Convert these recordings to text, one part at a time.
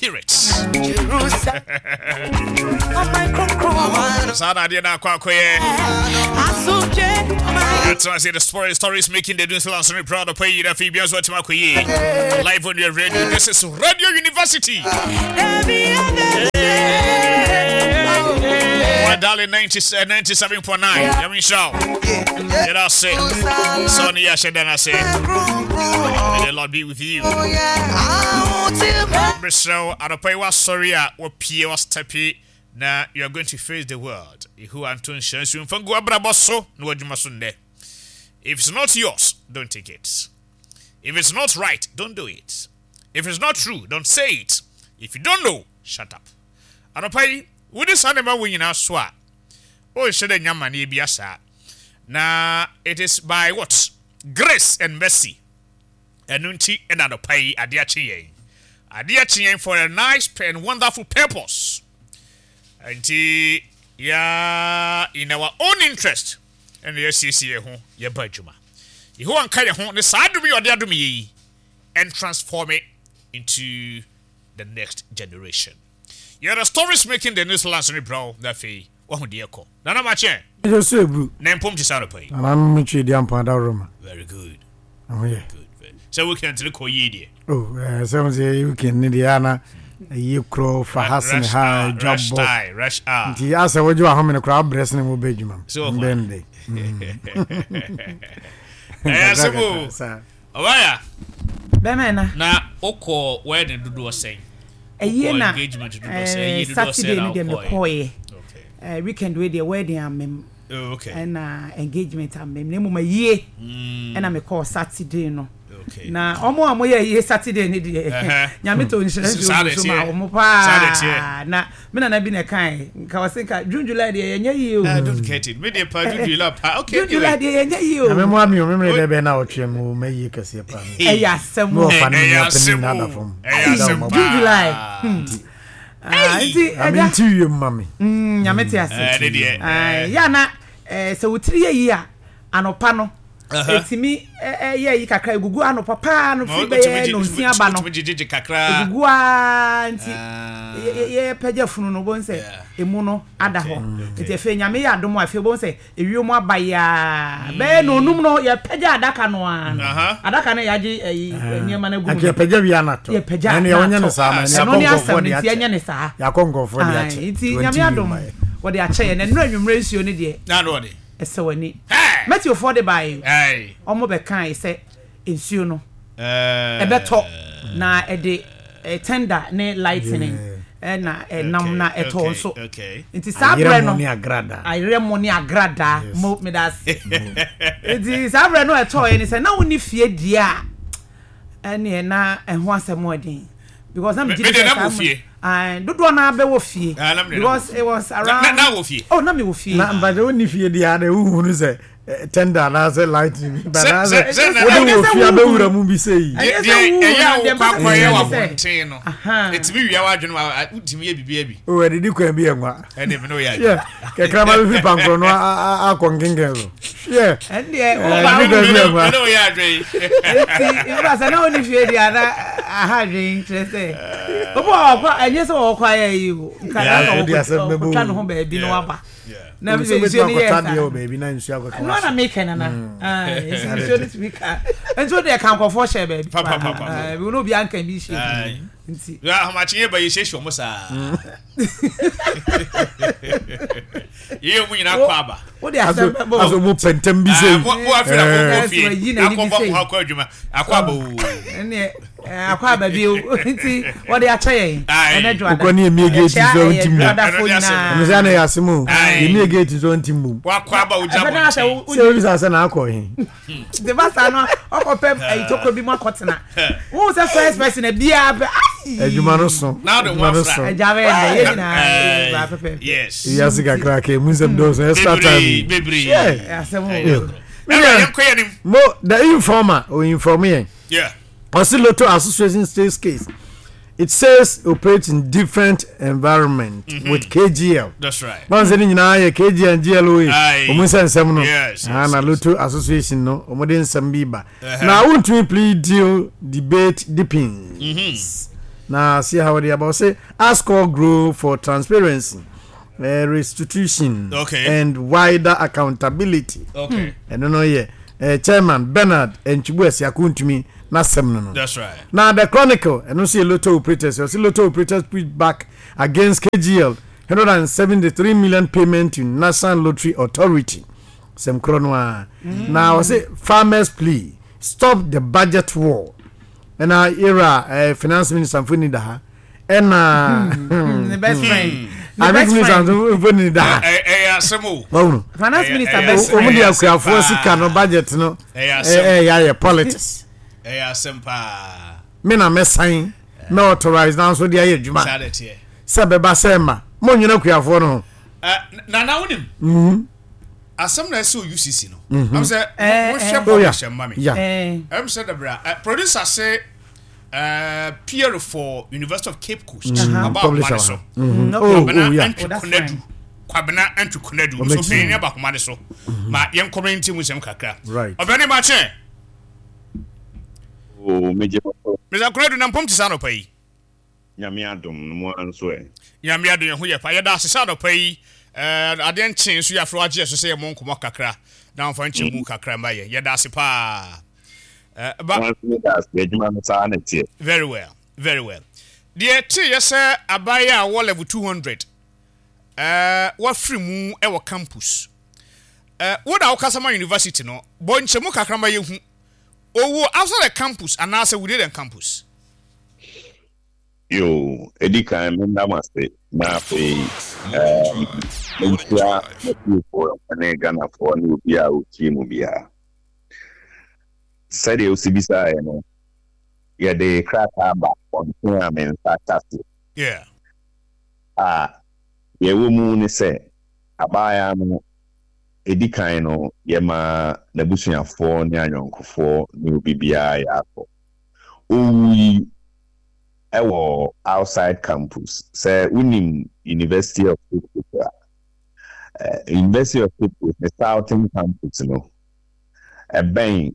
Spirit. Saa na adeɛ no akɔ akɔyɛ. Ɛtena ase the story stories making the news lands me proud of pay na afei bia nso atumi akɔ yie. Live on your radio. This is Radio University. My darling 90, 97.9. Yami nhyira wo. Yɛda ase. Sɛ ɔne yɛ ahyɛ da no ase. May the Lord be with you. Mesrɛ wo, anɔpa yi woasɔre a wapue wastepe na you are going to face the world. Yehowa nto nhyira nsu mfa ngu w'abrabɔ so na w'adwuma so nnɛ. If it's not yours, don't take it. If it's not right, don't do it. If it's not true, don't say it. If you don't know, shut up. Anɔpa yi, wodi saa nneɛma wɔ nyinaa so a, wonhyɛ dɛ nya amanneɛ bi asaa. Na it is by what? Grace and mercy. Ɛno nti na anɔpa yi adeɛ akye yɛn. Adeɛ akye yɛn for a nice and wonderful purpose. Nti ya in our own interest ɛna yɛasiesie yɛn ho yɛba adwuma. Yehowa nka yɛn ho ne saa adom yi ɔde adom yɛ yi and transform it into the next generation. Yɛ the stories making the news lands ne brɛ wo na afei wahu deɛ ɛkɔ. Nana Makye. Ɛyɛ so eburu. Na mpom te sɛ anɔpa yi. Nana no metwe di ampa adaworo ma. Very good. Ɛho yɛ. Good. Sɛ weekend ne kɔ yie deɛ. Oh, ɛɛ sɛ mo sɛ weekend ne deɛ ana ɛyɛ korɔ fa ha sene ha dwa bɔ. Rush hour. Nti asɛ wogye wahome no koraa abrɛ sene mo bɛ adwuma mu. So ɔfa. Mbɛn de. Ɛyɛ asɛm o. Ɔbaya. Bɛmɛ na. Na wokɔ wedding dodoɔ sɛn? Ɛyie Wokɔ na engagement dodoɔ sɛn? Ɛyie dodoɔ sɛn Saturday na no deɛ wokɔɛ? mekɔɔyɛ. Okay. Weekend wei deɛ wedding amem. Oh, okay. Ɛna engagement amem. Na mmom ayie ɛna mekɔɔ Saturday no. Okay. Na ɔmo a wɔyɛ ayie Saturday no deɛ Nyame tɔ nhyira nsuo Saa na gu so ma ɛteɛ. wɔn Saa na paa. ɛteɛ. Na me nana bi na ɛkae nka ɔse nka June July deɛ yɛnyɛ yie o. I don't get it. Me deɛ pa June July pa. Okay, June July anyway. deɛ yɛnyɛ yie o. Nyame mmoa me o, memene dɛ bɛyɛ na ɔtwe mu mɛyie kɛseɛ paa. Ɛyɛ asɛm Me o. wɔfa ne Ɛyɛ me nua panin asɛm na o. ada fam. Ɛyɛ Ada asɛm wɔn paa. June July. Ah, nti Nyame ɛgya. nti wiem ma me. Nyame te ase. Ɛne deɛ. Ae, yɛ a na sɛ wo tiri yɛ yie a anɔpa no ɛtumi yɛ yi kakra egugu anɔpa paa no firi bɛyɛ nonsia ba no egugu aa nti yɛpɛgya funu no wobɛhu sɛ emu no ada hɔ nti afei Nyame yɛ adom a afei wobɛhu sɛ ewiem aba yi aa bɛyɛ nonum no yɛpɛgya adaka no aa no adaka no yɛagye ɛyi nneɛma no agu mu Anka yɛpɛgya wie anatɔ. Yɛpɛgya Ɛno yɛnyɛ no saa ma ɛno ne asɛm no nti yɛnyɛ ne saa. Yɛakɔ nkurɔfoɔ de akyɛ. Nti Nyame adom wɔde akyɛ yɛn na nnura anwummerɛ nsuo no deɛ ɛsɛ w'ani. Matthewfoɔ de baeɛ wɔn bɛkae sɛ nsuo no ɛbɛtɔ na ɛde thunder ne lightning na ɛnam na ɛtɔ nso. Nti saa berɛ no ayerɛmo ne agradaa mo meda ase. Nti saa berɛ no ɛtɔɔɛ ne sɛ na wonni fie deɛ a ɛneɛ na ɛho asɛm ɛden because na megye di sɛ saa mo dodoɔ naa bɛwɔ fie because it was around na wɔ fie oh na mewɔ fie na mpakyɛ wonni fie deɛ a na wohunu sɛ tender anaasɛ lightning bi ba anaasɛ wode wɔ fie abɛwura mu bi sɛ yi deɛ ɛyɛ a wokɔ akɔyɛ wɔ abɔnten no ɛtumi wia w'adwene ma wotumi yɛ biribi abi o ɛdidi kwan bi yɛ nwa ɛne me ne woyɛ adwene kɛkrama bi firi pankorɔ no akɔ nkenken so hwɛ ɛndeɛ ɛdidi kwan bi yɛ nwa me ne woyɛ adwene nti nfa sɛ na wonni fie deɛ ana aha adwene kyerɛ sɛ obi wɔ ɔkɔ ɛnyɛ sɛ wɔkɔ ayɛ yi o nka na ɔkɔtwa ne ho baabi na waba na Nsuo nsuo bɛtumi no yɛ akɔtɔ saa adeɛ wɔ baabi na nsuo akɔka ɛno ana meka nana nsuo no tumi ka nsuo deɛ ka nkɔfoɔ hyɛ baabi paa bi no obi anka bi hyɛ nti ahomakye yɛ ba yɛ hyehyɛ ɔmo saa yɛyɛ ɔmo nyinaa kɔ aba wode asɛm bɛbɔ aso mo pɛntɛm bi sɛ mo afei na mo kɔ fie akɔ bɔ mo akɔ adwuma akɔ aba oo ɛneɛ akɔ aba bi o nti wɔde akyɛ yɛn ɛnɛ dwoada wokɔ ne emie gate nso nti mu dwoadafo nyinaa ɛno sɛ ana yɛ asɛm o emie gate nso nti mu wakɔ aba ogya bɔ nkyɛn sɛ obi sɛ asɛ na akɔ he de ba saa no ɔkɔ pɛ ayi tokuro bi mu akɔtena wohu sɛ first person biara pɛ ayi adwuma no so adwuma no so agya bɛyɛ dɛ yɛ nyinaa ba pɛpɛ yes wiase kakra ka emu nsɛm dɔɔso extra time bebree asɛm o mo the informer o inform yɛn. Yeah. Ɔsi Lotto Association states case. It says operates in different environment mm -hmm. with KGL. That's right. Báwo sɛ ne nyinaa yɛ KGL and GLOA. Wɔn nsɛ nsɛm no. Yes. Ah, na Lotto Association no wɔn de nsɛm bi ba. Na wontumi plea deal debate deepens. Mm -hmm. Na see how they about say ask all grow for transparency, restitution, okay. and wider accountability. Okay. And no yeah. Chairman Bernard Nchibu Esiakuntumi n'asɛm no no. That's right. Now the Chronicle and see lotto operators. You see lotto operators push back against KGL 173 million payment to National Lottery Authority. Sɛm korɔ no ara. Na wɔse farmers plea stop the budget war. Ɛna yɛwura eh, finance minister mfoni da ha. Ɛna Ne best friend. Ne agric best minister friend. nso mfoni da ha. Ɛyɛ asɛm o. Wɔhunu. Finance Ɛyɛ- minister ɛyɛ best asɛm. Wɔn friend. de Ɛyɛ asɛm akuafoɔ paa. sika no budget no Ɛyɛ asɛm. ɛyɛ ayɛ politics. Ɛyɛ asɛm paa. Me na mɛsan mɛ authorize nanso de ayɛ adwuma. Saa de teɛ. Sɛ bɛba sɛ ma mo nyina akuafoɔ no ho. Nana wonim. Asɛm na ɛsɛ UCC no. Ɛm sɛ monhwɛ publish mma me. Ɛm sɛ dabra producer se peer for University of Cape Coast. Aba ahoma ne so. Kwabena Antwi Konadu. Kwabena Antwi Konadu. Nso panyin ne aba ahoma ne so. Ma yɛn kɔmɛnti mu nsɛm kakra. Ɔbɛne ma kyɛn. Oh, megye Mr. Konadu na mpom te sɛ anɔpa yi. Nyame adom no mo ara nso ɛ? Nyame adom yɛn ho yɛ pa. Yɛda ase sɛ anɔpa yi adeɛ nkyee nso yɛafrɛ wo agye yɛ so sɛ yɛmmɔ nkɔmmɔ kakra na womfa nkyɛmu kakra mma yɛn. Yɛda ase paa. Ba. Mo ara nso yɛda ase. Adwuma no saa na ɛteɛ. Very well, very well. Deɛ ɛteeɛ sɛ abaayewa a ɔwɔ level 200 wafiri mu wɔ campus. Wo na wokasa ma university no, bɔ nkyɛmu kakra ma yɛhu. Ɔwɔ outside the campus anaasɛ within the campus? Yoo, edi kan menda mo ase na afei ehm menkyia m'atiefoɔ ne Ghanafoɔ ne obiara a ɔtie mu biara. Sɛdeɛ wosi bisaeɛ no, yɛde krataa ba abɔnten a me nsa ka so Yeah. a deɛ ɛwɔ mu ne sɛ abaayaa no ɛdi kan no yɛmaa n'abusuafoɔ ne ayɔnkofoɔ ne obi biara yɛ akɔ. Owui wɔ outside campus. Sɛ wonim University of Cape Coast a, University of Cape Coast ne Southern campus no, ɛbɛn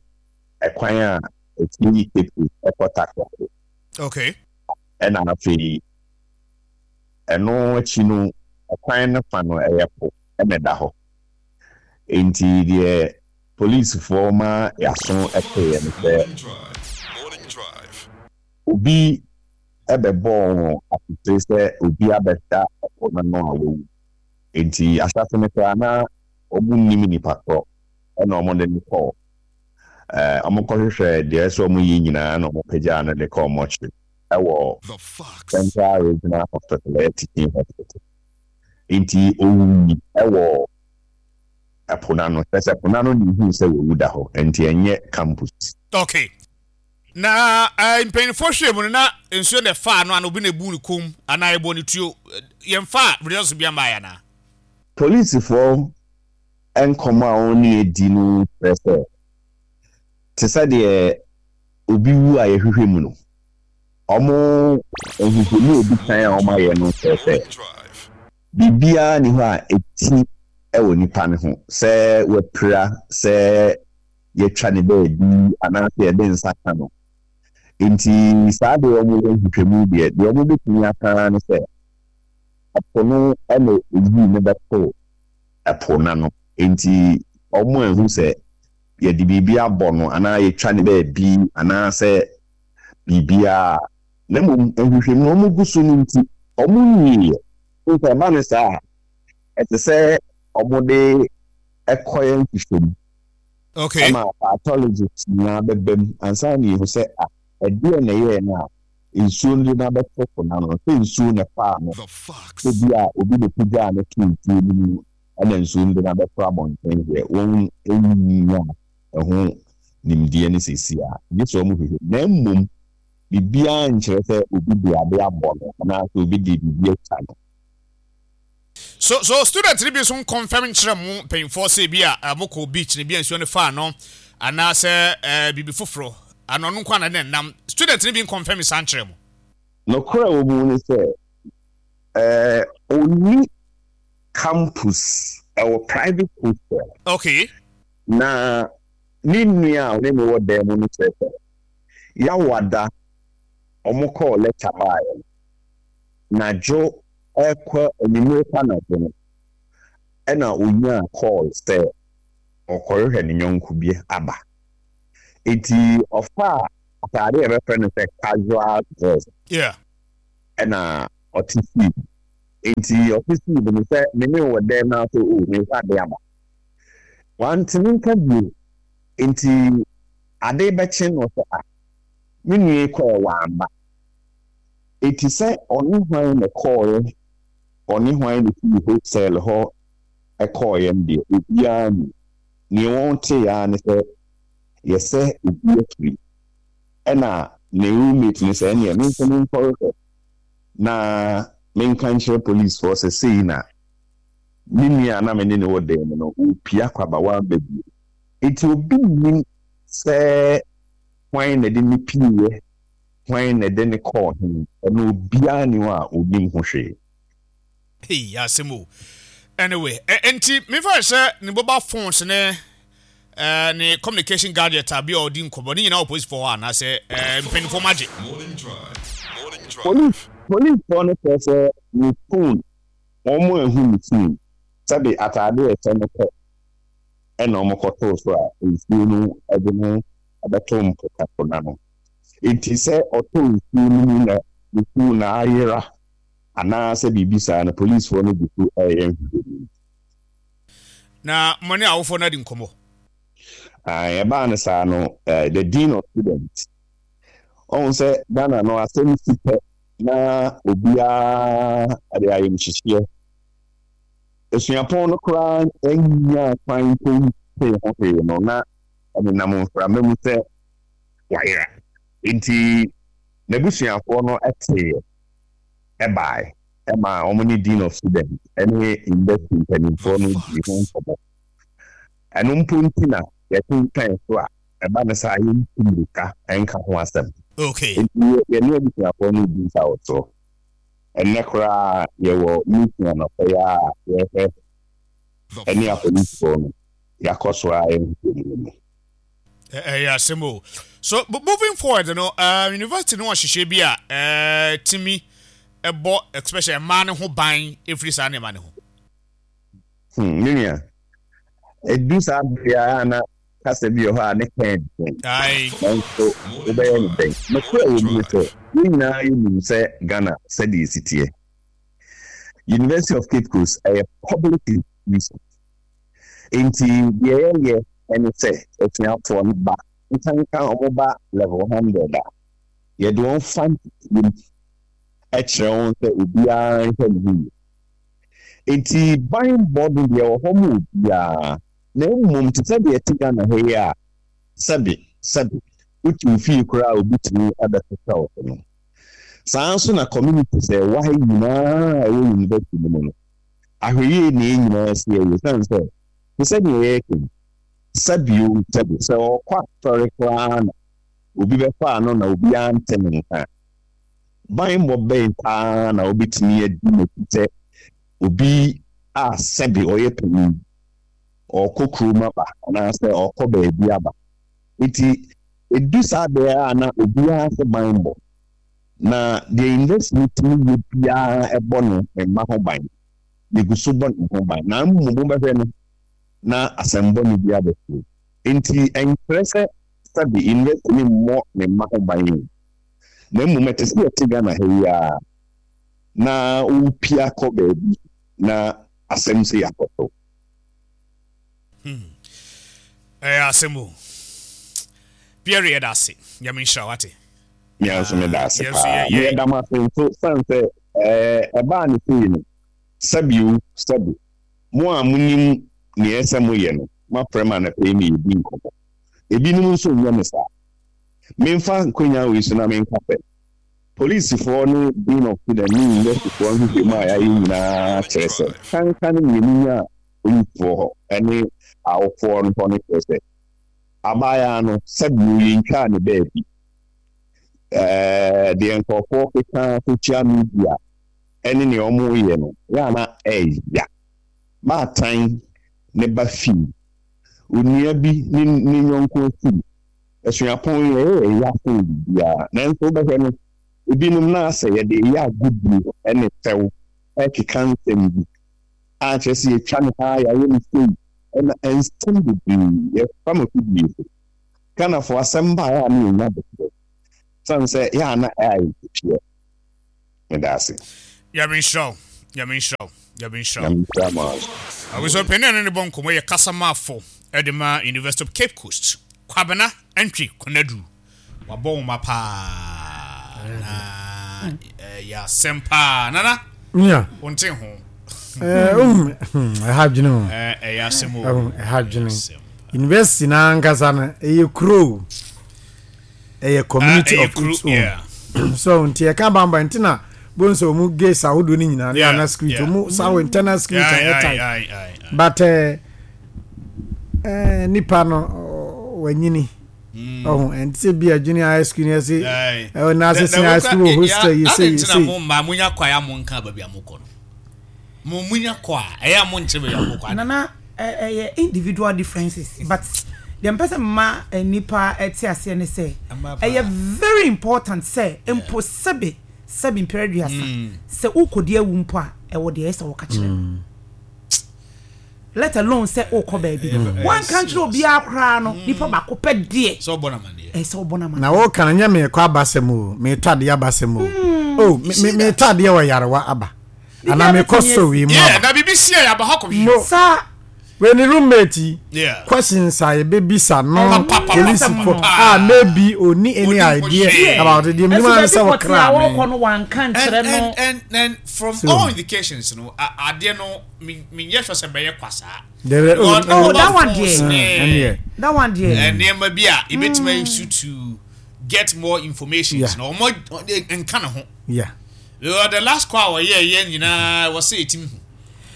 ɛkwan a ɛfiri Cape Coast ɛkɔ Takoradi. Okay. Ɛna afei ɛno akyi no, ɛkwan no fa no ɛyɛ po ɛna ɛda hɔ. Enti deɛ Polisifoɔ ma y'aso teeɛ ne sɛ obi bɛbɔɔ wɔn asotire sɛ obi abɛda ɛpo no ano a wawu. Enti ahyɛase no koraa na wɔnnim nipa korɔ ɛna wɔde no kɔɔ. Wɔkɔhwehwɛɛ deɛ ɛsɛ sɛ wɔyɛ nyinaa na wɔpagyaa no de kɔɔ mortuary ɛwɔ Central Regional Hospital, ɛyɛ Teaching Hospital. Enti ɔwui ɛwɔ ɛpo no ano. Kyerɛ sɛ, po no ano na ehuu sɛ wawu da hɔ, enti ɛnyɛ campus. Okay. Na eh, mpanyinfoɔ hwɛɛ mu no, na nsuo na ɛfaa no anaa obi na ebuu ne kɔn mu anaa ɛbɔɔ ne tuo. Yɛmfaa results bi mmaeɛ anaa? Polisifoɔ nkɔmmɔ a wɔne yɛn di no kyerɛ sɛ, te sɛ deɛ obi wu a yɛhwehwɛ mu no, wɔn nhwehwɛmu a ɛdi kan a wɔayɛ no kyerɛ sɛ, Biribiara nni hɔ a ɛti wɔ nipa no ho, sɛ wapira, sɛ yɛatwa ne baabi anaasɛ yɛde nsa ka no. Enti saa deɛ wɔyɛ nhwehwɛmu deɛ, deɛ wɔbɛtumi aka ara ne sɛ ɛpo no na ɛyii no bɛtoo ɛpo no ano. Enti wɔanhu sɛ yɛde biribi abɔ no anaa yɛatwa ne baabi anaasɛ biribiara. Na mmom nhwehwɛmu a wɔgu so no nti, wɔnwieeɛ. Sɛ ɛba no saa a, ɛsɛ sɛ wɔde kɔyɛ nhwehwɛmu ma pathologist nyinaa bɛba mu ansa na yɛahu sɛ ah, ɛdeɛn na ɛyɛɛ no a nsuo no de no abɛto po no ano, sɛ nsuo na ɛfaa no, sɛ bi a obi na ɛpagyaa no too nsuo no mu ɛna nsuo no de no abɛto abɔnten deɛ, wɔn nnya ɛho nimdeɛ no seesei a, gye sɛ wɔhwehwɛ mu. Na mmom biribiara nkyerɛ sɛ obi de ade abɔ no anaasɛ obi de biribi atwa no. So so student no bi nso nkɔnfɛm nkyerɛ mo mpanyinfoɔ sɛ ebi a mo kɔ beach no ebi a nsuo no faa no anaasɛ ɛɛ biribi foforɔ ana ɔno nko ana ne nam student no bi nkɔnfɛm saa nkyerɛ mo. Nokorɛ a ɛwɔ mu ne sɛ, ɛɛ ɔnni campus, ɛwɔ private hostel. Okay. Na ne nua a ɔne no wɔ dan mu no kyerɛ sɛ Yawada wɔkɔɔ lecture baeɛ no, nadwo rekɔ anwummere pa anadwo no, ɛna ɔnyaa call sɛ ɔrekɔhwehwɛ ne yɔnko bi aba. Enti ɔfaa ataade a yɛbɛfrɛ no sɛ casual dress ɛna ɔte sii mu. Enti ɔte sii mu no sɛ me ne wo wɔ dɛm na sɛ o merefa ade aba. Wantumi nka bio. Enti ade rebɛkye no ɔsɛ ah me nua yi kɔɛ wamba. Enti sɛ ɔne hwan na ɛkɔɔeɛ, ɔne hwan na ɛfiri hostel hɔ kɔɔeɛ no deɛ obiara nnim. Neɛ wɔteeɛ ara ne sɛ yɛsɛ obi afiri. Ɛna ne roommate no sɛ ɛneɛ me nso menkɔhwehwɛ na menka nkyerɛ policefoɔ sɛ sei na me nua a na me ne no wɔ dan mu no ɔrepia akɔ aba wamba bio. Enti obi nnim sɛ hwan na ɛde no pieeɛ, hwan na ɛde no kɔɔ he, ɛno obiara nni hɔ a ɔnim ho hwee. Hey, asɛm o. Anyway, enti memfa sɛ ne mobile phones ne eh, ne communication gadget a bi a ɔdi nkɔmmɔ ne nyinaa wɔ polisifoɔ hɔ anaasɛ eh, mpanimfoɔ ma gye. Police policefoɔ no kyerɛ sɛ ne phone wɔn anhu ne phone sɛbe ataade a ɛhyɛ no pɛ ɛna wɔkɔtoo so a nsuo no de no bɛto mpo no ano. Enti sɛ ɔtɔ nsuo no mu na ne phone no ayera anaasɛ biribi saa no, polisfoɔ no gu so reyɛ nhwehwɛmu. Na mo ne awofoɔ no adi nkɔmmɔ? Ae, ɛbaa no saa no, the dean of students, ɔhu sɛ Ghana no asɛm si pɛ na obiara de ayamhyehyeɛ. Asuapɔn no koraa nyaa kwan mpo ntee ho hwee no, na ɛnenam mframa mu sɛ wayera. Enti n'abusuafoɔ no teeɛ baeɛ maa wɔn ne Dean of Students ne University mpanimfoɔ no dii ho nkɔmmɔ. Ɛno mpo nti na yɛtwentwɛn so a ɛba no saa yɛntu mmirika nka ho asɛm. Enti yɛne abusuafoɔ no redi nsawɔsoɔ. Ɛnnɛ koraa yɛwɔ meeting anɔpa yi ara a yɛrehwɛ ɛne apolisifoɔ no yɛakɔ so ara yɛ nhwehwɛmu no. Ɛyɛ asɛm o. So moving forward no, university no wɔ nhyehyɛe bi a ɛtumi ɛbɔ especially mmaa no ho ban ɛfiri saa nneɛma no ho? Me nua, ɛdu saa bere a na kasa bi wɔ hɔ a ne ka den, nanso wobɛyɛ no dɛn? Nokorɛ wɔ mu ne sɛ, yɛn nyinaa yɛnim sɛ Ghana sɛdeɛ ɛsi teɛ. University of Cape Coast ɛyɛ public institution. Enti deɛ yɛyɛ ne sɛ asuafoɔ no ba, nkanka wɔn ba level 100 a, yɛde wɔn fa ntetee mu kyerɛ wɔn sɛ obiara nhwɛ ne ho yie. Enti banbɔ no deɛ ɛwɔ hɔ ma obiara, na mmom te sɛ deɛ ɛte Ghana ha yi a sɛbe sɛbe wote wo fie koraa a obi tumi bɛsesa wo so no, saa ara nso na communities a ɛwɔ ha yi nyinaa a ɛwɔ university no mu no, ahwɛyie na yɛn nyinaa si yɛyɛ ɛsiane sɛ te sɛ deɛ yɛreka yi, sɛbe o sɛbe, sɛ ɔrekɔ asɔre koraa na obi bɛfaa no na obiara nte ne nka a, Banbɔ bɛn paa na wobetumi adi n'akyi sɛ obi a sɛbe ɔyɛ panyin, ɔrekɔ kurom aba anaasɛ ɔrekɔ baabi aba? Enti edu saa bere a na obiara sɛ banbɔ, na deɛ university no tumi yɛ biara ɛbɔ ne mma ho ban. Yegu so bɔ ne ho ban, na mmom wobɛhwɛ no na asɛm bɔne bi abɛto. Enti ɛnkyerɛ sɛ sɛbe university no mmɔ ne mma ho ban o. Na mmom ɛte sɛ yɛte Ghana ha yi ara na wopia kɔ baabi na asɛm sei akɔto. Hmm. Ɛyɛ asɛm o. Pierre yɛda ase. Nyame nhyira wate. Mea nso meda ase paa. Meyɛ da mo ase nso sane sɛ ɛbaa ne sei no sɛbi o sɛbi mo a monim nea ɛsɛ moyɛ no moafrɛ me anɔpa yi ma yɛdi nkɔmmɔ. Ebinom nso nyɛ me saa. Memfa nkwanya wei so na menka sɛ, polisifoɔ ne Dean of Students ne Universityfoɔ nhwehwɛmu a yɛayɛ nyinaa kyerɛ sɛ kanka ne nea menyaa polisifoɔ hɔ ne awofoɔ no hɔ no kyerɛ sɛ abaayaa no sɛbio yɛntwaa ne baabi. Ɛɛ deɛ nkurɔfoɔ keka social media ne nea wɔyɛ no yɛ a na ɛya. Baatan ne ba fii onua bi ne ne yɔnko afiri. Asuapɔn yi, ɛyɛ yɛn ya sen biribiara, nanso wobɛhwɛ no, Ebinom na asɛ yɛde reyɛ agodie ne fɛw rekeka nsɛm bi a kyerɛ sɛ yɛatwa no ha, yɛayɛ no sei, ɛna nsɛm bebree yɛfa m'afidie so. Ghanafoɔ asɛm ba a ɛyɛ a na yɛnya aboterɛ sane sɛ yɛ a na ɛyɛ a yɛteteɛ. Meda ase. Nyame nhyira wo. Nyame nhyira wo. Nyame nhyira wo. Nyame nhyira mo ara nso. Abusua panin a ne ne bɔ nkɔmmɔ yɛ kasamafo de ma University of Cape Coast, Kwabena Antwi Konadu. Wabɔ nwoma paa na ɛyɛ asɛm paa. Nana, wonte ho. Ɛha dwene o. Ɛyɛ asɛm o. Ɛha dwene. University na ankasa no ɛyɛ kuro ɛyɛ community of its own. So nti ɛka bamba nti na bon sɛ ɔmu gates ahodoɔ no nyinaa ne ana security ɔmu saa wɔ internal security ɛyɛ tight. But nipa no wanyini. Ɔho ɛnti sɛ bi a junior high school ni ɛsi ɛwɔ naase senior high school wɔ hostel yi sɛ yi sɛ. Mo mmaa mo nya kɔ a yɛ a mo nka baabi a mo kɔ no mo mo nya kɔ a ɛyɛ a mo nkyerɛ baabi a mo kɔ. Nana ɛyɛ individual differences but deɛ mpɛ sɛ mma nipa ɛte aseɛ ne sɛ ɛyɛ very important sɛ mpo sɛbe sɛbe mpere aduasa sɛ wokɔdi awu mpo a ɛwɔ deɛ ɛyɛ sɛ wɔka kyerɛ no. Let alone sɛ wokɔ baabi. Woanka nkyerɛ obiara koraa no, nipa baako pɛ deɛ. Sɛ ɔbɔ no amaneɛ. Ɛsɛ sɛ ɔbɔ no amaneɛ. Na woka no nyɛ meekɔ abasɛm o, meetɔ adeɛ abasɛm o. Oh, me me meetɔ adeɛ wɔ Yarewa aba. Anaa meekɔ store wei mu aba. Yeah, na biribi si a yɛaba hɔ akɔhwehwɛ. Mo. Saa. Wei ne roommate yi. Yeah. Questions a yɛbɛbisa no polisifo Papapapa. a maybe ɔnni any Ɔnim ho idea hwee. about it. Deɛ menim Ɛso ara ne baabi sɛ pɔtee a wɔkraa wɔrekɔ me. no wanka And nkyerɛ and no. and and from So. all indications no, a- adeɛ no me menyɛ sure sɛ bɛyɛ kwa saa. There, oh, Because Oh, mobile that one phones deɛ. ne ɛneɛ. That one deɛ. nneɛma bi a ebetumi ayi so to get more information. Yeah. Na wɔn nka ne ho. Yeah. Because the last call a wɔyɛ yɛ nyinaa wɔsɛ etimi hu.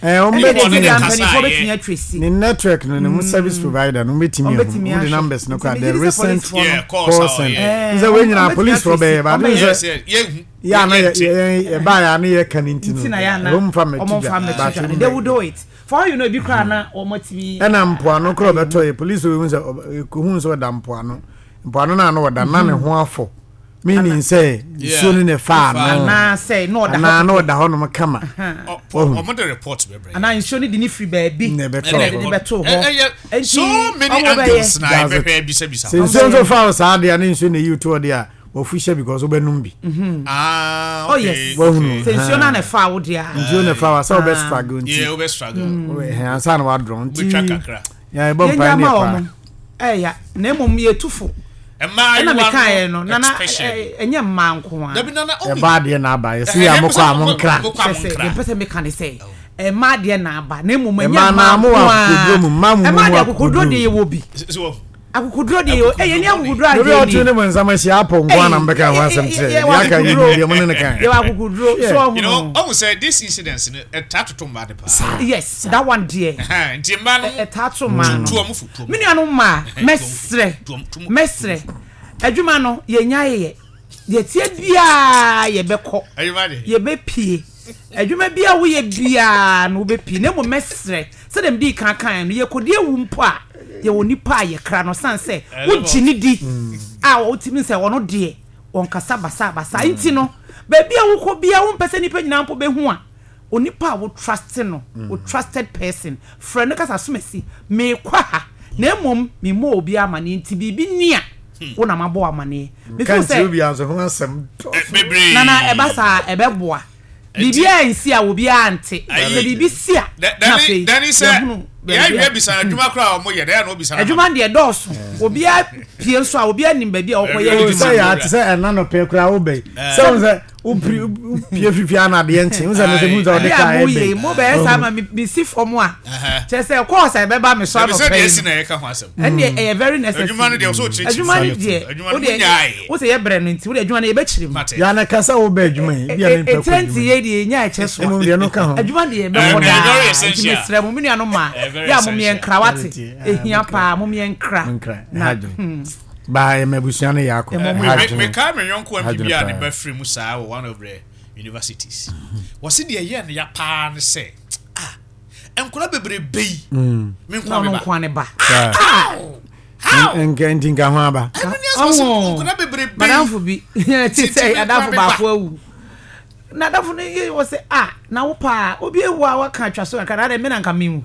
Eh, wɔn Ɛne bɛtumi deɛ ne deɛ kasa mpanimfoɔ yɛ. bɛtumi atwa si. ne network no ne mu service provider no wɔbɛtumi Wɔn ahu bɛtumi wɔn de ahwɛ. numbers no Nti kora megye the di sɛ recent policefoɔ no. Yeah, calls call a center. wɔyɛ. Eh, Sɛ wɔn wɔn nyinaa bɛtumi policefoɔ atwa si. bɛyɛ ba Wɔn ne bɛyɛ. sɛ Yes, yes, yɛhu. yɛ ana yɛ Yɛnte. yɛ yɛbaa yɛ ano yɛ ka ne nti no Nti na yɛ ana wɔn mfa mmɛto wɔn dwa mfa mmɛto but dwa. wɔn They will bɛyɛ. do it. For all you know, ebi koraa na wɔn atumi. Ɛna mpoano koraa ɔbɛtɔ yɛ police wɔ ehu sɛ ekohu sɛ ɔda mpoano mpoano na ano ɔda na ne ho afɔ meaning sɛ nsuo no na ɛfaa no Anaasɛ na ɔda hɔ anaa na kɛkɛ. ɔda hɔ nom kama wahu Wɔn de report bɛbrɛ. Anaa nsuo no de ne firi baabi Na ɛbɛtɔ ɛna hɔ. ɛde ne bɛtoo hɔ. Ɛyɛ Enti so many wɔn bɛyɛ. angles na That's it. ɛbɛhwɛ bisabisa. Sɛ nsuo nso fa wo saa deɛ a ne nsuo na eyi to hɔ deɛ a wafu hyɛ because wobɛnom bi. Ah, Oh okay. yes. Wahunu. Sɛ nsuo no na ɛfaa wo deɛ a. Nsuo na ɛfa wa sɛ wobɛ struggle nti. Yeah, wobɛ struggle. Ɛhɛn ansa na wadrɔn nti. Wobɛtwa kakra. Yɛn ɛbɔ Yɛn mpae gya ne ma yɛ paa. wɔn. Ɛya na mmom yɛtu fo. Mmaayewa Ɛna mekaeɛ no no nana especially. ɛnyɛ mmaa nko a. Dabi nana omi. Ɛba adeɛ na aba yɛsi yɛ a mokɔ a monkra. Mokɔ a Kyerɛ sɛ monkra. deɛ mpɛ sɛ meka ne sɛ mmaa deɛ na aba na mmom ɛnyɛ Mmaa mmaa na mo nko wɔ a. akokoduro mu mmaa mu mu Mmaa mu deɛ akokoduro akokoduro. deɛ yɛwɔ bi. So wahu. Akokoduro deɛ yɛwɔ ɛyɛ ni akokoduro Obi a adeɛ ɔtwe ni. ne mu nsam ahyia apɔ nko ara na mbɛka ho asɛm kyerɛ yɛ. Deɛ aka yɛ nim deɛ mo ne no ka. Yɛwɔ akokoduro so ɔho You know, no. ɔhu sɛ this incident no ɛtaa toto mmaa de paa. Yes, that one deɛ. Nti mmaa no Ɛtaa to mmaa no. tu ɔmo fo tu ɔmo Me nuanom mmaa, mɛsrɛ, mɛsrɛ, adwuma no yɛnya yɛ, deɛ ɛteɛ biara yɛbɛkɔ, Adwuma deɛ. yɛbɛpie, adwuma biara woyɛ biara no wobɛpie, na mmom mɛsrɛ, sɛdeɛ medii kan kaeɛ no, yɛkɔdi awu mpo a, yɛwɔ nipa a yɛkra no, sane sɛ wogye no di a wotumi sɛ ɔno deɛ ɔnkasa basabasa nti no, baabi a wokɔ biara wompɛ sɛ nnipa nyinaa mpo bɛhu a, onipa a wo trust no, wo trusted person, frɛ no ka sɛ asomasi, merekɔ ha, na mmom memmɔɔ obiara amaneɛ nti biribi ni a, wo na mabɔ wo amaneɛ. Me Nka feel nkyerɛ sɛ, obiara nso ho asɛm dɔɔso. Bebree. Nana ɛba saa a ɛbɛboa. Biribiara nsi a obiara nte. Sɛ biribi si a, na afei Dani sɛ yɛahunu baabi a. yɛawie bisa no adwuma koraa a wɔyɛ dɛ na obisa no. Adwuma deɛ dɔɔso. Obiara pie nso a obiara nim baabi a ɔkɔyɛ Oh, adwuma. sɛ yɛ ate sɛ ɛna nɔpɛ koraa wobɛyi sɛ wo sɛ wopiri wopie fifi ana adeɛ nkye wo sɛ no sɛ mu sɛ wode Adeɛ kaa a moyɛ yi ɛbɛyi mo bɛyɛ saa ma mesi fam a kyerɛ sɛ kɔɔs a ɛbɛba me so Dabi sɛ anɔpa deɛ yi esi no na yɛka ho asɛm. ɛndeɛ ɛyɛ very necessary. Adwuma no deɛ ɔsɛ ɔkyerɛkyerɛ Adwuma no deɛ Adwuma no wodeɛ munyae. wo sɛ yɛbrɛ no nti wodeɛ adwuma no yɛbɛkyerɛ mu. Mate. yɛ ana ka sɛ wobɛ adwuma yi bia mempɛ kɔ Ɛtirɛ nti adwuma yɛ deɛ yɛnya ɛkyɛ so a mmom deɛ no ka ho adwuma deɛ yɛbɛkɔ Ɛyɛ daa very nti essential. mesrɛ mo me nuanom ma Ɛyɛ very yɛ a momeɛ essential. nkra wate Ɛyɛ ɛhia monkra. paa momeɛ nkra Monkra, na ɛha adwene. Baa yɛ ma abusua no yɛ akɔ Ɛmmɔ mo ɛha yɛ. adwene. Mekae me yɔnko Ɛha MP bi adwene a ne paa. ba firi mu saa wɔ one of the universities. Wɔse deɛ ɛyɛɛ no ya paa ne sɛ, ah, nkwadaa bebrebe yi, me na nkoa ɔno me ba. nkoa ne ba. Saa. How? How? Nka nti nka ho aba. Ɛno ne asɛm, wɔse Ɔho. nkwadaa bebrebe But yi. Adamfo bi te sɛ adamfo baako awu. Na adamfo no yɛ wɔ sɛ ah na wo paa obi ewu a waka atwa so kakra na adɛ me na nka menwu.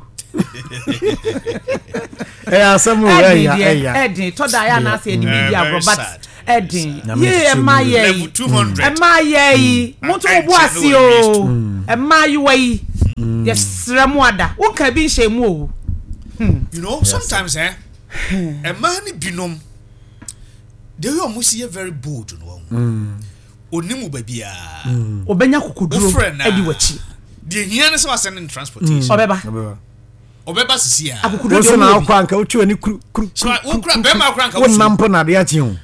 Ɛyɛ asɛm o ɛya ɛya. Ɛden tɔ da yɛ anaasɛ yɛde bi di agorɔ but ɛden yie ɛma yɛ yi ɛma yɛ yi mo nso mo bo ase o ɛma ayiwa yi yɛsrɛ mo ada wonka bi nhyɛ mu o. You know sometimes eh ɛmaa ne binom the way ɔmo si yɛ very bold no wɔn onim wo baabiara. Ɔbɛnya kokoduro adi w'akyi. Deɛ hia ne sɛ wasɛn ne transportation. Ɔbɛba. Ɔbɛba sisi a. Akokoduro deɛ ɔmo wɔ bi. Woso na akɔ anka wotwi w'ani kuru kuru kuru. Wokura bɛrima akora anka wosu. Wonam mpo na ade akye o.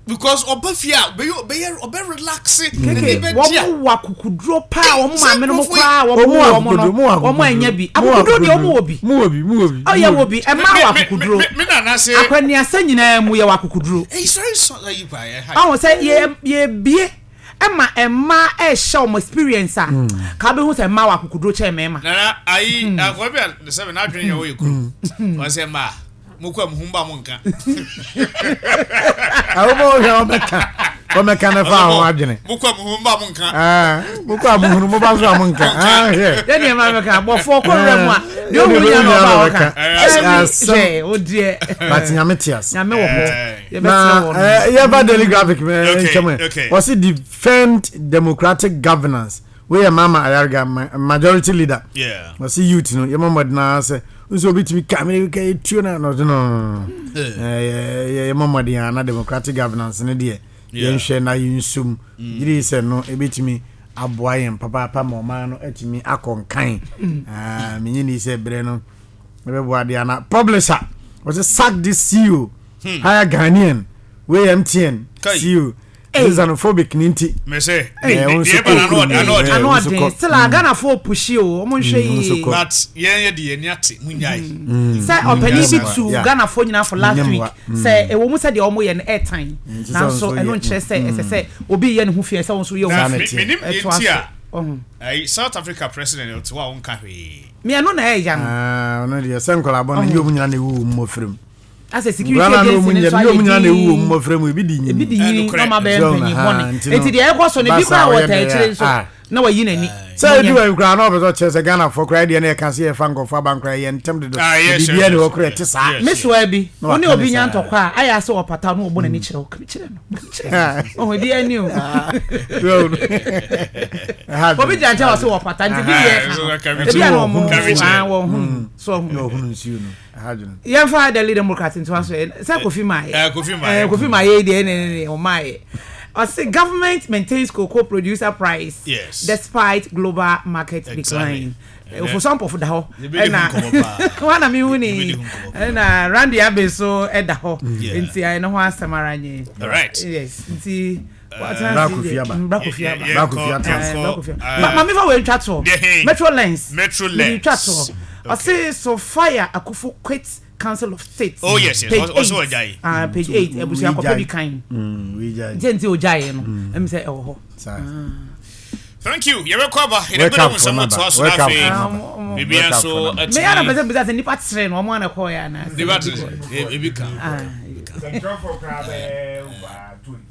Because ɔba fie a ɔbɛyɛ ɔbɛyɛ ɔbɛ relax. Keke wɔn wɔ akokoduro paa wɔn maame no mo koraa wɔn wɔ wɔn no wɔn anya bi akokoduro deɛ wɔn wɔ bi. Mo wɔ bi mo wɔ bi. Ɔyɛ wɔ bi ɛmaa wɔ akokoduro. Akwaniasa nyinaa mu yɛ wɔ akokoduro. Ɔho sɛ yɛ yɛbie ɛma mmaa ɛhyɛ wɔn experience a ka bɛhu sɛ mmaa wɔ akokoduro kyɛn mmarima. Nana ayi akɔrɔ bi a sɛ n'adwene yɛ ɔyɛ kuro ɔsɛ mmaa mo kɔ mu ho ba mo nka. Awo mo hwɛ ɔbɛka ɔbɛka ne fa ho adwene. Mo kɔ mu ho ba mo nka. Mo kɔ a mo hunu mo ba so a mo nka. Hwɛ. Yɛ deɛ maa bɛka bɔfoɔ kɔ wura mu a deɛ ɔhu nya na ɔba ɔka. Hwɛ o deɛ. But nyame te ase. Nyame wɔ hɔ. Na yɛba Daily Graphic ntwam ɛ. Wɔsi defend democratic governance. Wei yɛ Mama Ayariga majority leader. Wɔsi youth no yɛmɔ mmɔden ara sɛ nso obi tumi ka mi ka etuo na na ɔde no yɛmɔ mmɔden ara na democratic governance no deɛ yɛnhwɛ na yɛnsom. Gyiri sɛ no ebetumi aboa yɛn papaapa ma ɔman no atumi akɔ nkan. Menye ni sɛ berɛ no ɛbɛboa deɛ ana publisher wɔsɛ sack this CEO hmm. hire Ghanaian wei MTN CEO xenophobic ni nti. Mese deɛ ɛba na ano ɔden. Ano ɔden still a Ghanafoɔ pushi o wɔn nhwɛ yie. But yɛn yɛ de yɛn ni ate mu nyae. Sɛ ɔpanin bi tu Ghanafoɔ nyinaa for last week sɛ ɛwɔ mu sɛ deɛ wɔn yɛ no ɛɛtan nanso ɛno nkyerɛ sɛ ɛsɛ sɛ obi yɛ ne ho fi ɛsɛ wɔn nso yɛ wɔn fi ɛtoa so. Ayi South Africa president ɔte hɔ a ɔnka hwee. Me ɛno na ɛyɛ no. Ɔno deɛ sɛ nkɔla bɔ no nyɛ ɔmu nyina na ɛwu wɔ mmɔfra mu. Asɛ security agency no nso ayɛ din. Nyina na ɛwu wɔ mmɔfra mu ebi di nyini. Ebi di nyini na ɔma bɛyɛ mpanyin bɔne. Eti deɛ ɛkɔ so no ebi koraa wɔ taa akyire nso na wayi n'ani. Sɛ edu baabi koraa na ɔpɛ sɛ ɔkyerɛ sɛ Ghanafoɔ koraa deɛ na yɛka sɛ yɛfa nkurɔfoɔ aba nkoraa yɛ ntɛm dodo. Biribiara ni hɔ koraa ɛte saa. Me soa bi, wo ne obi nya ntɔkwa a, ayɛ asɛ ɔpata na ɔbɔ n'ani kyerɛ wo. Kyerɛ no. Ɔho ebi ani o. Obi gyina nkyɛn wɔ sɛ wɔpata nti bi yɛ ka no. Ebi a na ɔmo wɔn ho so ɔho. Yɛmfa Daily Democrat ntoa so sɛ Kofi Maayɛ. Kofi Maayɛ deɛ ne ne ɔmaayɛ. Ɔse government maintains cocoa producer price yes. despite global market decline. Ofosu Ampofo da hɔ ɛna wana mi hu ni ɛna Randy Abbey so ɛda hɔ nti ɛno ho asɛm ara nye. Yes nti. Bra Kofi aba. Bra Kofi aba. Bra Kofi aba. Maame fa wei ntwa toɔ. Metro Lens. Metro Lens. Ntwa toɔ. Ɔse Sophia Akufo quit Council of State. Oh yes yes. Page Ɔsɛ 8. ɔgyae. Ah, page 8. Abusua kɔpɛ bi kan. Nti nti ɔgyaeɛ no. Ɛmi sɛ ɛwɔ hɔ. Thank you. Yɛbɛkɔ aba. Yɛde bɛrɛ mu nsɛm toa so na afei biribiara nso atumi. Meyɛ na pɛ sɛ bisa sɛ nipa tere no ɔmo ana kɔɔ yɛ anaa. Nipa tere ebi ka. Sɛnkyerɛfoɔ koraa bɛyɛ over 25.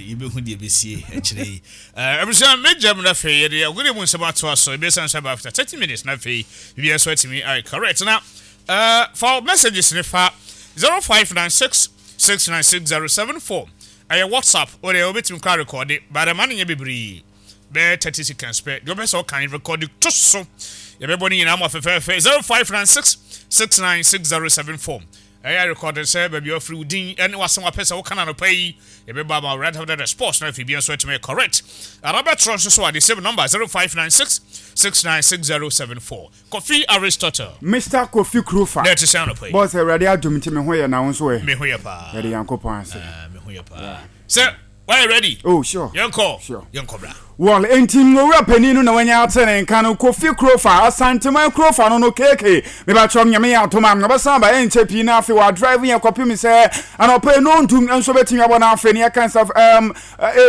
Yɛbɛhu deɛ ɛbɛsie akyire yi. Abusua mɛgya mu na afei yɛde agodie mu nsɛm atoa so. Ɛbɛsan so aba after 30 minutes na afei biribiara nso atumi ayɛ correct. Na fa messages ne fa 0596 696074 ɛyɛ WhatsApp. Wo deɛ wobɛtumi koraa rekɔde but ɛma no nyɛ bebree. Bɛyɛ 30 seconds pɛ. Deɛ wopɛ sɛ ɔkan rekɔde to so. Yɛbɛbɔ ne nyinaa ma fɛfɛɛfɛ 0596 696074. Ɛyɛ rekɔde sɛ baabi a wafiri wo din ne w'asɛm wapɛ sɛ woka no anɔpa yi. Yɛbɛbɔ ama wo right after the sports na afei bia nso atumi ayɛ correct. Ara bɛtrɔ nso so a the same number 0596 696074. Kofi Aristotle. Mister Kofi Krufa. Dɛ ɛte sɛn anɔpa yi? Boss, Awurade adom nti me ho yɛ na wo nso ɛ? Me ho yɛ paa. Yɛde Nyankopɔn ase. Ah, me ho yɛ paa. Sɛ, wayɛ ready? Oh, sure. Yɛnkɔ. Sure. Yɛnkɔ bra. Well, enti Owura panin no na wanya ate ne nka no, Kofi Krofa, Asanteman Krofa no no, KK, mebakyɛw Nyame yɛ adom a, ɔbɛsan aba ɛnkyɛ pii na afei wadrive yɛn kɔpem sɛ anɔpa yi nondu nso bɛtumi abɔ na afei ne yɛka sɛ um,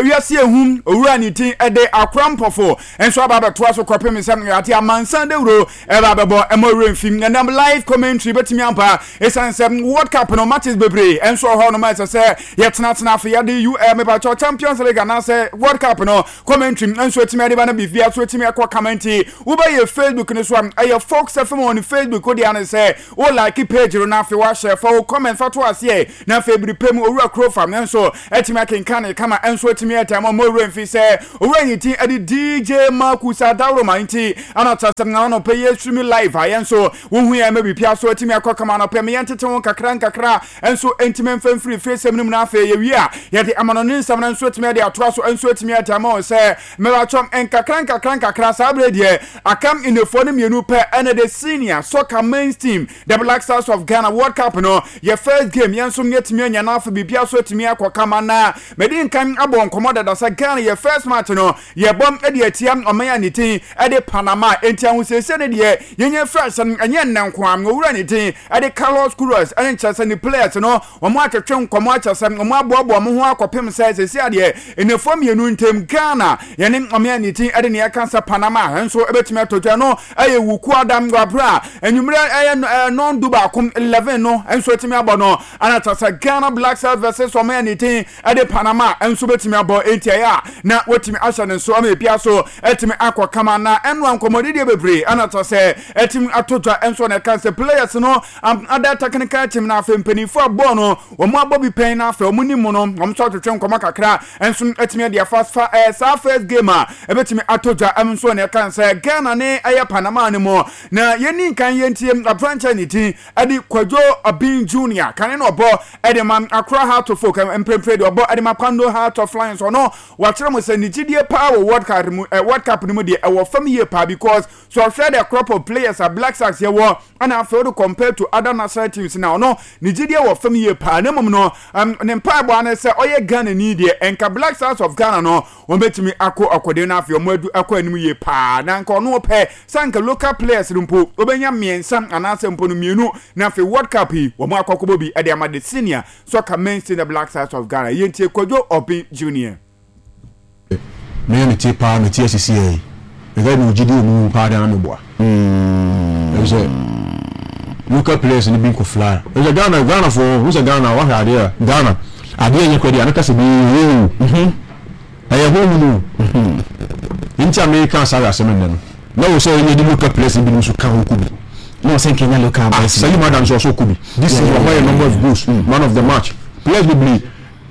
wiase ehum, Owura ne din ɛde Akora Mpɔfo nso aba abɛtoa so kɔpem sɛ ate amansan dawuro ɛba abɛbɔ ɛmɔ werɛ mfi ɛnam live commentary bɛtumi aba ɛsiane sɛ World Cup no matches bebree ɛnso wɔ hɔ nom a ɛsɛ sɛ yɛtenatena afei yɛde U eh, mepakyɛw Champions League anaasɛ World Cup no commentary nso atumi ade ba no biribia so atumi ɛkɔ kama nti wobɛyɛ Facebook no so a ɛyɛ Fox FM on Facebook wode ane sɛ wo like page no na afei wahyɛ fa wo comment fa to aseɛ na afei bere pɛ mu owura kuro fam nso atumi akenkan ne kama nso atumi ɛta ma ɔmɔ mfi sɛ owura yi ti ɛde DJ Marcus Adaworoma nti ana kyerɛ sɛ na ɔno pɛ yɛ stream live a yɛn nso wohu yɛn ma biribi so atumi akɔ kama no pɛ me yɛn tete ho kakra nkakra nso ntumi mfa mfiri fie sɛm no mu na afei yɛwie a yɛde amanɔne nsɛm no nso atumi de atoa so nso atumi ade ama wɔn sɛ mmeratwam nkakra nkakra nkakra saa berɛ deɛ akam nnefoɔ no mmienu pɛ ɛna the senior soccer men's team, the Black Stars of Ghana, World Cup no yɛ first game yɛn nso yɛatumi anya no afei biribiara so atumi akɔ kama na mede nkan abɔ nkɔmmɔ dada sɛ Ghana yɛ first match no yɛbɔ de atia ɔman a ne din de Panama. Enti ahosiesie no deɛ yɛnya firi ahyɛ no ɛnyɛ nnɛ nko ara. Owura ne din de Carlos Queiroz ne nkyerɛ sɛ ne players no wɔn atwetwe nkɔmmɔ akyɛ sɛ wɔn aboaboa wɔn ho akɔpem sɛ sɛsi adeɛ nnafua mmienu ntam Ghana yɛne ɔman a ne din de nea ɛka sɛ Panama nso bɛtumi atɔ dwa no ɛyɛ Wukuada wɔ abere a anwummerɛ ɛyɛ nɔn du baako 11 no nso atumi abɔ no ana kyerɛ sɛ Ghana Black Stars versus ɔman a ne din de Panama nso bɛtumi abɔ enti ɛyɛ a na watumi ahyɛ ne nso ama ebia so atumi akɔ kama na ɛnoa nkɔmmɔdidiɛ bebree ɛna kyerɛ sɛ atumi ato dwa nso na ɛka sɛ players no ada technical team na afei mpanimfoɔ a bɔɔl no wɔn abɔ bi pɛn na afei wɔn nim mu no wɔn nso atwetwe nkɔmmɔ kakra nso atumi de afa fa saa first game a ɛbɛtumi ato dwa nso na ɛka sɛ Ghana ne ɛyɛ Panama no mu na yɛni nkan yɛntie aberanteɛ ne din ɛde Kwadwo Obeng Junior kane na ɔbɔ ɛde ma Accra Heart of Oak mprempre de ɔbɔ ɛde ma Kwando Heart of Lions ɔno wakyerɛ mo sɛ ne gyidie paa wɔ World Cup mu eh, World Cup no mu deɛ ɛwɔ fam yie paa because so ɔhwɛ the crop of players a Black Stars yɛwɔ ɛna afei wode compare to other national teams na ɔno ne gyidie wɔ fam yie paa na mmom no um, ne mpaebɔ ano sɛ ɔyɛ Ghana ni deɛ ɛnka Black Stars of Ghana no wɔbɛtumi akɔ ɔkɔden no afei wɔn adu akɔ anim yie paa na nka ɔno ɔpɛ sɛ anka local players no mpo wɔbɛnya mmiɛnsa anaasɛ mpo no mmienu na afei World Cup yi wɔn akɔ akɔbɔ bi de ama the senior soccer men's team the Black Stars of Ghana. Yɛntie Kwadwo Obeng Junior. Me a metie paa mete ase siaa yi meka mewɔ gyidie wɔ mo mu paa deɛ na meboa ɛfisɛ local players no bi nkɔ fly ɛfisɛ Ghana Ghana foɔ ho sɛ Ghana wahwɛ adeɛ a Ghana adeɛ nyɛ kɔ deɛ anaka sɛ bi yɛ o ɛyɛ honhom o nti a meka saa asɛm nnɛ no na wɔ sɛ ɛnyɛ de local players no binom nso ka ho kɔ bi na wɔ sɛ nkɛnya local ah, boys Salim Adams ɔsɔ kɔ bi this season wama yɛ number of goals man of the match players bebree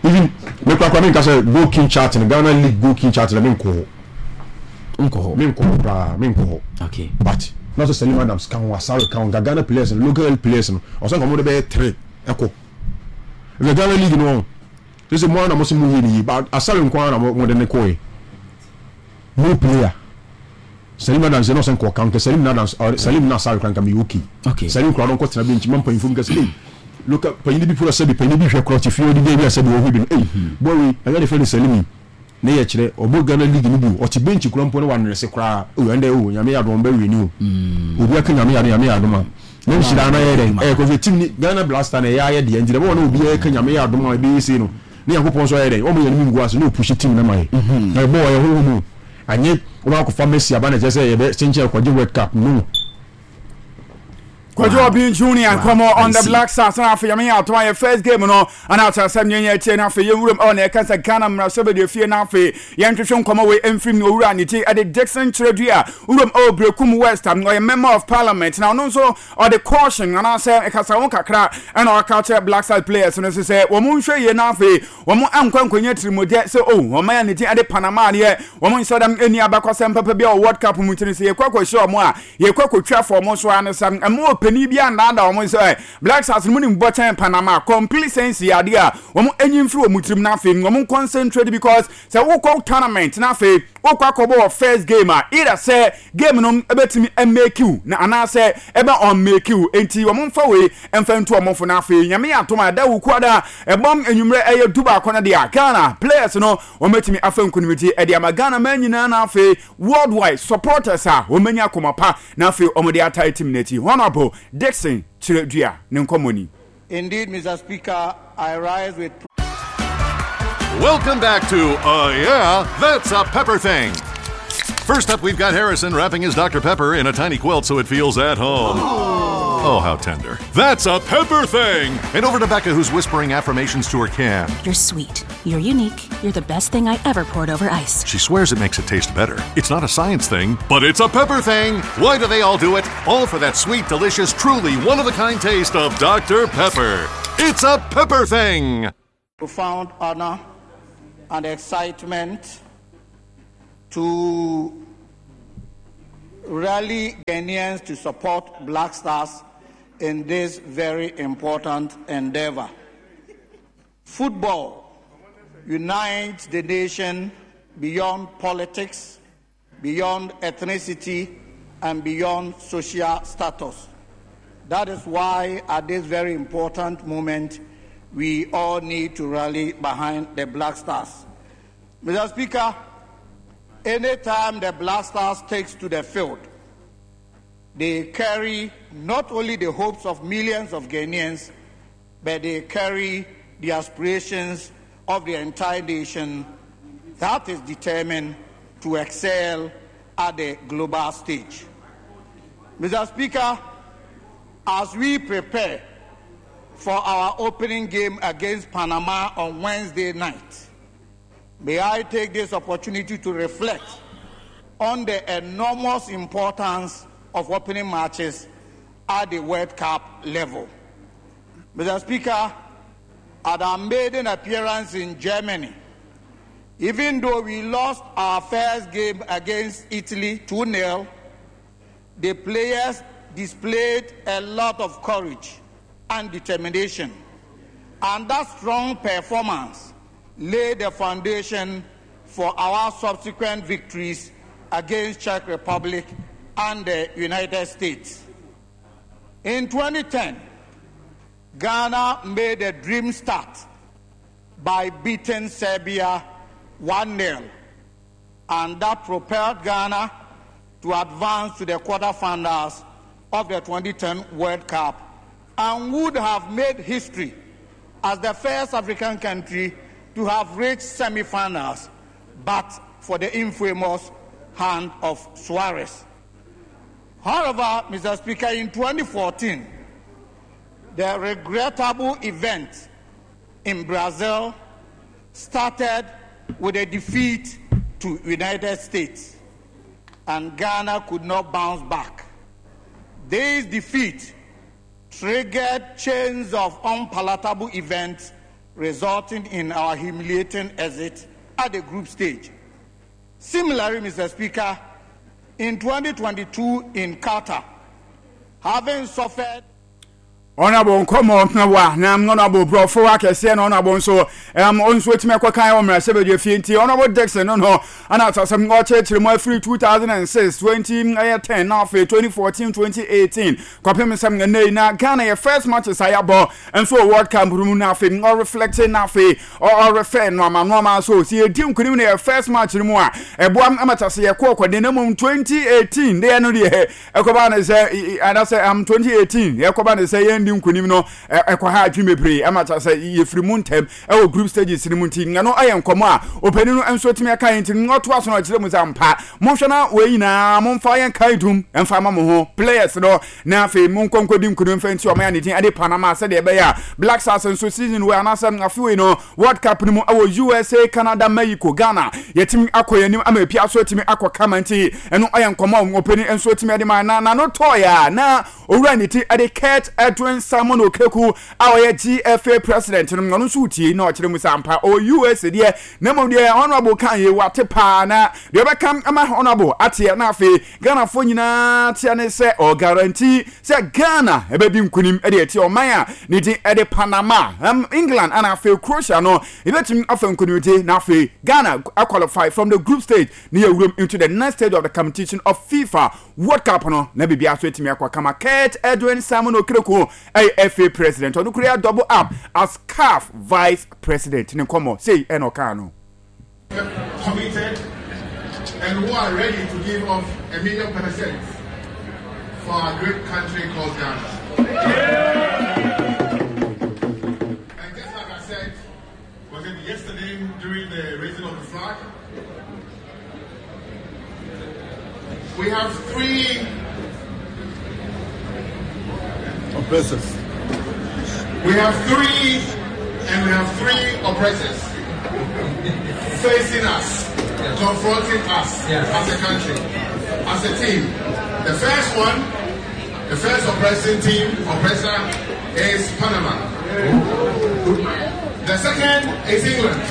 Even me koraa koraa menka sɛ goal king chart no Ghana league goal king chart no menkɔ hɔ. Nkɔ hɔ. Menkɔ hɔ koraa menkɔ hɔ. Okay. But na sɛ Salim Adams ka ho Asare ka ho nka Ghana players no local players no ɔsɛ nka wɔn de bɛyɛ three ɛkɔ. Ɛfɛ Ghana league no sɛ sɛ mo ara na mo sɛ mo yɛ ne yie but Asare nko ara na mo de ne kɔɛ. Mo player. Salim Adams yɛ na ɔsɛ nka ɔka nka Salim na Adams ɔ Salim na Asare kora nka meyɛ okay. Okay. Salim kora no nkɔ tena bench ma mpanyinfoɔ bi ka sɛ ei loka panyin bi kora sɛbi panyin bi hwɛ kora ɔte fie ɔdi dɛ bi a sɛbi ɔhwɛ bi no ei boy wei ɛnyɛ de fɛ no Salim yi ne yɛ kyerɛ ɔbɔ Ghana league no bi o ɔte bench kora mpo na wanrɛse koraa o ɛndɛ o nyame yɛ adom ɔmbɛ wini o obi aka nyame yɛ adom nyame yɛ adom a na nhyira na yɛ dɛn ɛyɛ kɔhwɛ team ni Ghana Blaster na ɛyɛ ayɛ deɛ nti dɛ bɔwɔ na obi yɛ ka nyame yɛ adom a ɛbɛyɛ sei no ne Nyankopɔn nso ayɛ dɛn ɔmo yɛn anim ngu ase na ɔpushi team no ma yɛ na ɛbɔ ɔyɛ honhom o Anyɛ wɔn akɔfa Messi aba na ɛkyerɛ sɛ yɛbɛ kyenkyen akɔgye World Cup no. Kojo Obeng Junior nkɔmɔ on the Black Stars na afei yɛn ato ayɛ first game no ana akyerɛ sɛ yɛn yɛn tie na afei yɛn wuram ɛwɔ na ɛka sɛ Ghana mmarahyɛ bɛdi efie na afei yɛn twetwe nkɔmɔ wei mfiri mu owura ne ti ɛde Dickson Kyerɛdua wuram ɛwɔ Berekum West ɔyɛ member of parliament na ɔno nso ɔde caution anaasɛ ɛkasa ho kakra ɛna ɔka kyerɛ Black Stars players no sɛ wɔn nhwɛ yie na afei Wɔn ankɔ ankɔnya tirimɔdɛ sɛ oh, wɔn a ne din de Panama deɛ, wɔn nhyɛ da nni abakɔsɛm papa biara wɔ World Cup mu nti no, sɛ yɛkɔ akɔhyia wɔn a, yɛkɔ akɔtwa fa wɔn so ara ne sa. Mma ɔpanin biara nnaadaa wɔn sɛ Black Stars no mu nim bɔ kyɛn Panama. Complacency yɛ adeɛ a wɔn nyi mfiri wɔn tirim na afei wɔn concentrate because sɛ wokɔ tournament na afei wokɔ akɔbɔ wɔ first game a, either sɛ game no bɛtumi amake wo na anaasɛ ɛbɛ unmake wo. Enti wɔn mfa wei mfa ntu wɔn fo. Na afei Nyame yɛ atom a ɛda Wukuada ɛbɔm anwummerɛ ɛyɛ dubaako no deɛ a, Ghana players no wɔn bɛtumi afa nkunimdie ɛde ama Ghana man nyinaa na afei worldwide supporters a wɔn bɛnya akoma pa na afei wɔn de atae team no akyi. Honourable Dickson Kyerɛdua ne nkɔmmɔ ni. Indeed, Mr. Speaker, I rise with. Welcome back to Yeah, That's a Pepper Thing. First up, we've got Harrison wrapping his Dr. Pepper in a tiny quilt so it feels at home. Oh, how tender. That's a pepper thing! And over to Becca, who's whispering affirmations to her can. You're sweet. You're unique. You're the best thing I ever poured over ice. She swears it makes it taste better. It's not a science thing, but it's a pepper thing! Why do they all do it? All for that sweet, delicious, truly one of a kind taste of Dr. Pepper. It's a pepper thing! Profound honor and excitement to rally Ghanaians to support Black Stars in this very important endeavor. Football unites the nation beyond politics, beyond ethnicity, and beyond social status. That is why, at this very important moment, we all need to rally behind the Black Stars. Mr. Speaker, anytime the Black Stars takes to the field, they carry not only the hopes of millions of Ghanaians, but they carry the aspirations of the entire nation that is determined to excel at the global stage. Mr. Speaker, as we prepare for our opening game against Panama on Wednesday night, may I take this opportunity to reflect on the enormous importance of opening matches at the World Cup level. Mr. Speaker, at our maiden appearance in Germany, even though we lost our first game against Italy 2 0, the players displayed a lot of courage and determination. And that strong performance laid the foundation for our subsequent victories against Czech Republic and the United States. In 2010, Ghana made a dream start by beating Serbia 1 0, and that propelled Ghana to advance to the quarterfinals of the 2010 World Cup and would have made history as the first African country to have reached semi-finals, but for the infamous hand of Suarez. However, Mr. Speaker, in 2014, the regrettable event in Brazil started with a defeat to United States, and Ghana could not bounce back. This defeat triggered chains of unpalatable events resulting in our humiliating exit at the group stage. Similarly, Mr. Speaker, in 2022 in Qatar, having suffered Honourable nkɔmɔ na wa na honourable brɔfo akɛseɛ na honourable nso ɛm nso etumi ɛkɔ kan wɔ mmarahyɛbadwa fie nti honourable Dickson no no ɛna asasɛm ɔkyerɛkyerɛ mu afiri 2006 20 ɛyɛ 10 na afei 2014 2018 kɔpem sɛm ɛnɛ yi na Ghana yɛ first matches a yɛabɔ nso wɔ World Cup no mu na afei ɔreflect na afei ɔrefɛ nnoɔma nnoɔma so sɛ yɛdi nkonim no yɛ first match no mu a ɛboa ma kyɛ sɛ yɛkɔ ɔkɔden na mmom 2018 deɛ no deɛ ɛkɔba ne sɛ anasɛ am 2018 ɛkɔba ne sɛ yɛndi nkonim no ɛkɔ ha adwene bebree ɛma kyɛ sɛ yɛfiri mu ntɛm ɛwɔ group stages no mu nti ɛno ɛyɛ nkɔmmɔ a ɔpanin no nso tumi ɛka yɛn nti ɔtoa so no ɔkyerɛ mu sɛ ampa monhwɛ na wei nyinaa momfa yɛn kae dum ɛmfa ma mo ho players no na afei monkɔ nkɔdi nkonim mfa nti ɔman a ne din de Panama sɛdeɛ ɛbɛyɛ a Black Stars nso season wei anaasɛ afe wei no World Cup no mu ɛwɔ USA, Canada, Mexico, Ghana yɛtumi akɔ yɛn anim ama epia so atumi akɔ kama nti ɛno ɛyɛ nkɔmmɔ a ɔpanin nso atumi de ma na n'ano tɔɔeɛ a na owura ne ti de Kurt Edwin. Edwin Simon Okraku a ɔyɛ GFA president no, ɔno nso retie na ɔkyerɛ mu sɛ ampa ɔwɔ US deɛ, na mmom deɛ Honourable kan yei wate paa na deɛ ɔbɛka ama Honourable ateɛ na afei Ghanafoɔ nyinaa teɛ ne sɛ ɔguarantee sɛ Ghana ɛbɛdi nkunim de atia ɔman a ne din de Panama, England ana afei Croatia no yɛbɛtumi afa nkunimdie na afei Ghana qualify from the group stage na yɛwuram into the next stage of the competition of FIFA World Cup no na biribiara so atumi akɔ kama. Kurt Edwin Simon Okraku ɛyɛ FA president, ɔno kura double up as CAF vice president ne nkɔmmɔ sei ɛna ɔkaa no. Committed and who are ready to give off 1,000,000% for our great country called Ghana. And just like I said, was it yesterday during the raising of the flag? We have three oppressors. We have three, and we have three oppressors facing us, confronting us as a country, as a team. The first one, the first oppressing team, oppressor, is Panama. The second is England.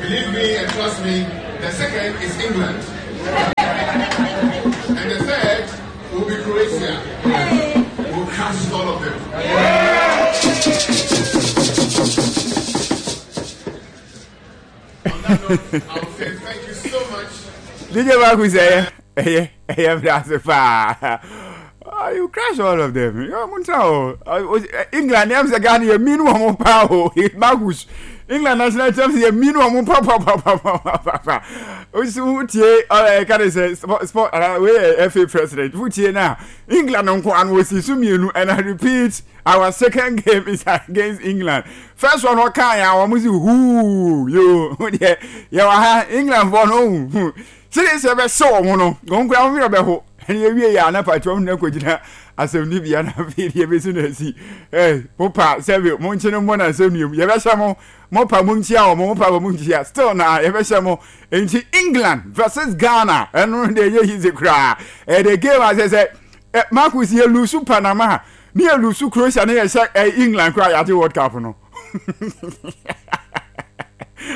Believe me and trust me, the second is England. And the third will be Croatia. We'll crush all of them. On that note, I will say thank you so much. DJ Marcus, ɛyɛ ɛyɛ ɛyɛ mi ase paa. Ah, you crash all of them. Yo, muntra o. England, I'm say Ghana, you mean one more pa o. Marcus, England national team, you mean one more pa pa pa pa pa pa pa. Osi wutie, eh, can I say sport, sport, we FA president. Wutie na England nko an wosi so mienu and I repeat, our second game is against England. First one ɔka ya wɔn si huu yo deɛ yɛ wɔ ha England fɔ no hu sɛdeɛ sɛ ɛbɛhyɛ wɔn no wɔn kura wɔn werɛ bɛho ɛne ewie yɛ ana pati wɔn nyinaa kɔgyina asɛmdibea na afei deɛ ebesi na esi ɛɛ mo pa sɛbi mo nkye no mmɔ na asɛnnua mu yɛbɛhyɛ mo mo pa mo nkyia wɔn mo pa mo nkyia still na yɛbɛhyɛ mo nti England versus Ghana ɛno deɛ ɛyɛ yize koraa ɛyɛ game asɛ sɛ ɛ Marcus yɛ lusu Panama ne yɛ lusu Croatia ne yɛ hyɛ ɛ England koraa yɛagye World Cup no.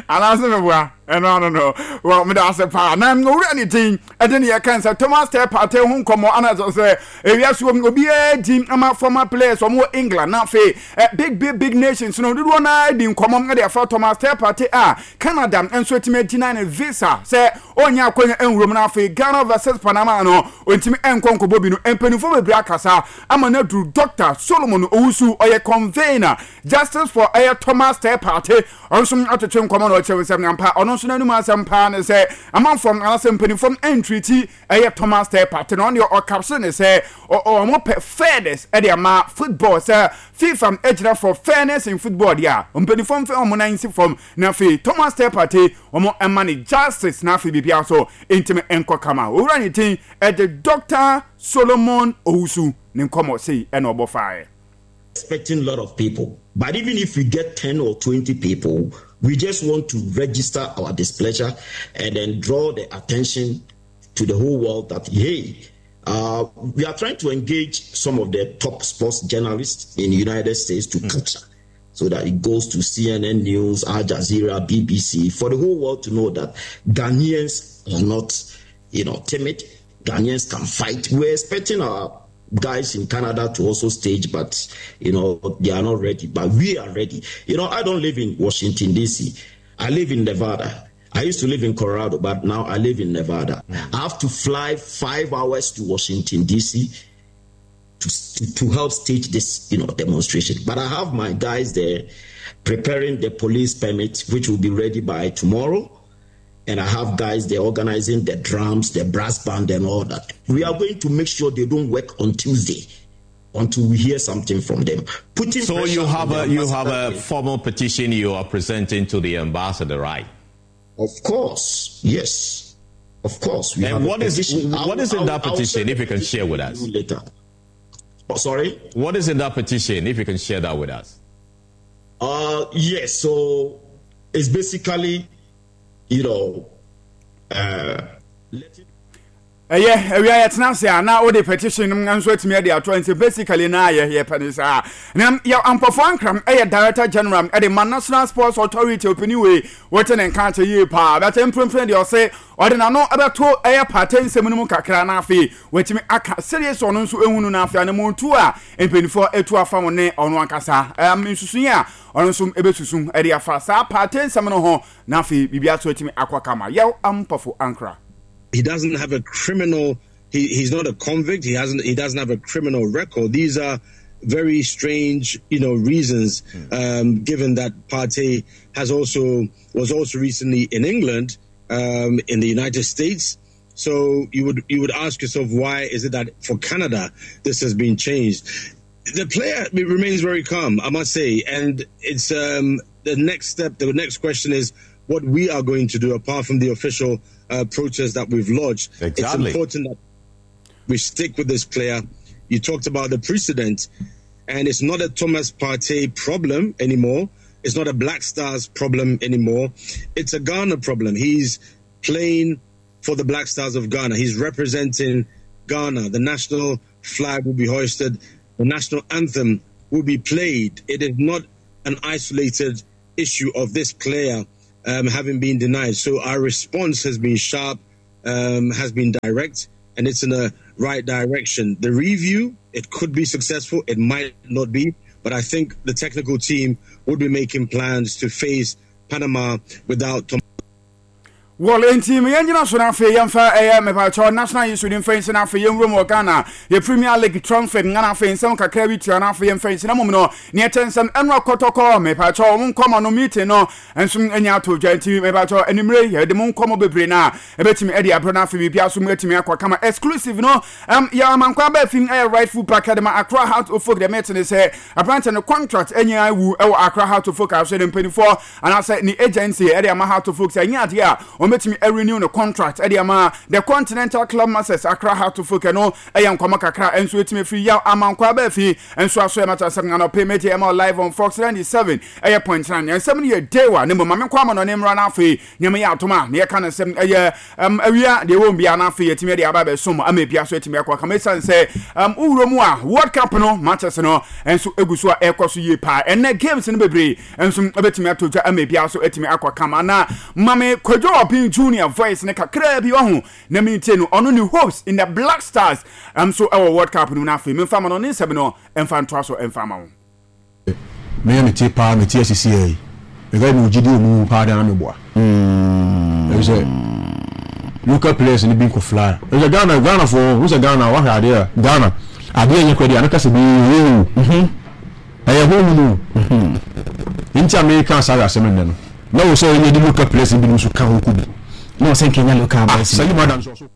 anaasɛ meboa ɛno ano no wɔ meda ase paa na owura ne din ɛde ne yɛka sɛ Thomas Teh Partey ho nkɔmmɔ ana sɛ sɛ ewia so obiara di ama former players wɔn wɔ England na afei big big big nations no dodoɔ no ara di nkɔmmɔ de afa Thomas Teh Partey a Canada nso atumi agyina ne visa sɛ ɔnyɛ akwanya nwuram no afei Ghana versus Panama no ɔntumi nkɔ nkɔbɔ bi no mpanimfoɔ bebree akasa ama no aduru Dr. Solomon Owusu ɔyɛ convener Justice for ɛyɛ Thomas Teh Partey ɔno nso atwetwe nkɔmmɔ na ɔkyerɛ sɛ ampa ɔno nso n'anum asɛm paa ne sɛ amanfoɔ anaasɛ mpanimfoɔ ntriti ɛyɛ Thomas Teh Partey na ɔno deɛ ɔkapse ne sɛ wɔn pɛ fairness ɛde ama football sɛ FIFA gyina for fairness in football deɛ a mpanimfoɔ mfɛ wɔn nan nsi fam na afei Thomas Teh Partey wɔn ɛma ne justice na afei biribiara so ntumi nkɔ kama owura ne din ɛde Dr. Solomon Owusu ne nkɔmmɔ sei ɛna ɔbɔ faeɛ. Expecting a lot of people. But even if we get 10 or 20 people, we just want to register our displeasure and then draw the attention to the whole world that, hey, uh, we are trying to engage some of the top sports journalists in the United States to mm. capture so that it goes to CNN News, Al Jazeera, BBC, for the whole world to know that Ghanaians are not, you know, timid. Ghanaians can fight. We're expecting our guys in Canada to also stage, but you know they are not ready. But we are ready. You know, I don't live in Washington D.C. I live in Nevada. I used to live in Colorado, but now I live in Nevada. Mm. I have to fly five hours to Washington D.C. To, to, to help stage this, you know, demonstration. But I have my guys there preparing the police permit, which will be ready by tomorrow. And I have guys there organizing the drums, the brass band, and all that. We are going to make sure they don't work on Tuesday until we hear something from them. Putting so you have a you have a formal petition you are presenting to the ambassador, right? Of course, yes, of course. We and what is what is in that petition? If you can share with us later. Oh, sorry. What is in that petition? If you can share that with us. Uh, yes. So it's basically, you know, uh, letting. Ɛyɛ awia yɛtena ase a na wode petition no nso atumi de ato nti basically na yɛ yɛpɛ ne saa. Na yɛ Ampɔfo Ankram yɛ Director General de ma National Sports Authority ɔpanin wei wote ne nka akyɛ yie paa bɛtɛ mprempren deɛ ɔse ɔde n'ano bɛto ɛyɛ Partey nsɛm no mu kakra na afei watumi aka sɛdeɛ sɛ ɔno nso ehunu no afei anammɔntuo a mpanimfoɔ atu afa ho ne ɔno ankasa nsusuiɛ a ɔno nso ɛbɛsusu de afa saa Partey nsɛm no ho na afei biribiara nso atumi akɔ kama. Yɛw Ampɔfo Ankra. He doesn't have a criminal. He, he's not a convict. He hasn't. He doesn't have a criminal record. These are very strange, you know, reasons. Given that Partey has also was also recently in England, in the United States. So you would you would ask yourself why is it that for Canada this has been changed? The player remains very calm, I must say, and it's the next step. The next question is what we are going to do apart from the official protest that we've lodged. Exactly. It's important that we stick with this player. You talked about the precedent, and it's not a Thomas Partey problem anymore. It's not a Black Stars problem anymore. It's a Ghana problem. He's playing for the Black Stars of Ghana. He's representing Ghana. The national flag will be hoisted. The national anthem will be played. It is not an isolated issue of this player having been denied. So our response has been sharp, has been direct, and it's in the right direction. The review, it could be successful, it might not be, but I think the technical team would be making plans to face Panama without Tom. Well, enti me yɛngyina so na afei yɛmfa ɛyɛ mepakyɛw national issue ne mfa nsi na afei yɛnwura mu wɔ Ghana yɛ Premier League transfer nga na afei nsɛm kakra bi tua na afei yɛmfa nsi na mmom no neɛ ɛkyɛ nsɛm ɛno akɔtɔkɔ mepakyɛw wɔn nkɔmɔ no meeting no nso anya ato dwa nti mepakyɛw anwummere yɛde mo nkɔmɔ bebree na ɛbɛtumi ɛde abrɛ na afei biribiara so mu atumi akɔ kama exclusive no yɛ amankwa aba afi ɛyɛ right foot back ɛde ma Accra Heart of Oak deɛ mete ne sɛ aberante no contract anya awu ɛwɔ Accra Heart of Oak aso ne mpanimfoɔ anaasɛ ne agency ɛde ama Heart of Oak sɛ ɛnyɛ adeɛ a wɔbɛtumi renew ne contract ɛde ama the Continental Club Masters Accra Heart of Oak ɛno ɛyɛ nkɔmɔ kakra ɛnso ɛtumi firi yaw amankwa aba afi nso aso ɛma kyɛ sɛ anɔpɛ mɛgye ɛma live on Fox 97 ɛyɛ point 9 nsɛm no yɛ dewa ne mmom ma menkɔ ama no ne mmra no afei Nyame yɛ atom a, na yɛka no sɛ ɛyɛ awia deɛ ɛwɔ mu biara na afei yɛatumi de aba abɛsom ama ebia so atumi akɔ akama ɛsiane sɛ wowura mu a World Cup no matches no nso egu so a ɛrekɔ so yie paa. Ɛnnɛ games no bebree nso ɛbɛtumi ato dwa ama ebia so atumi akɔ kama na Mame Kwadwo Ɔpen Junior voice no kakraa bi ɔho na mentie no ɔno ne hopes in the Black Stars nso ɛwɔ World Cup no mu na afei memfa ma no ne nsɛm no mfa ntoa so mfa ma wo. Me yɛ me te paa me te asisi ɛyi me ka me gyidi omu paa de ana me boa ɛbi sɛ local players ni bi nkɔ fly ɛbi sɛ Ghana Ghana fo ho sɛ Ghana wahwɛ adeɛ a Ghana adeɛ nyɛ kora deɛ anaka sɛ bi yɛ o ɛyɛ ho mu o nti a meka saa asɛm nnɛ no na wɔ sɛ ɛnyɛ de local players ni bi nso ka ho kɔ bi na wɔ sɛ nkɛnya local boys ah Salim Adams ɔso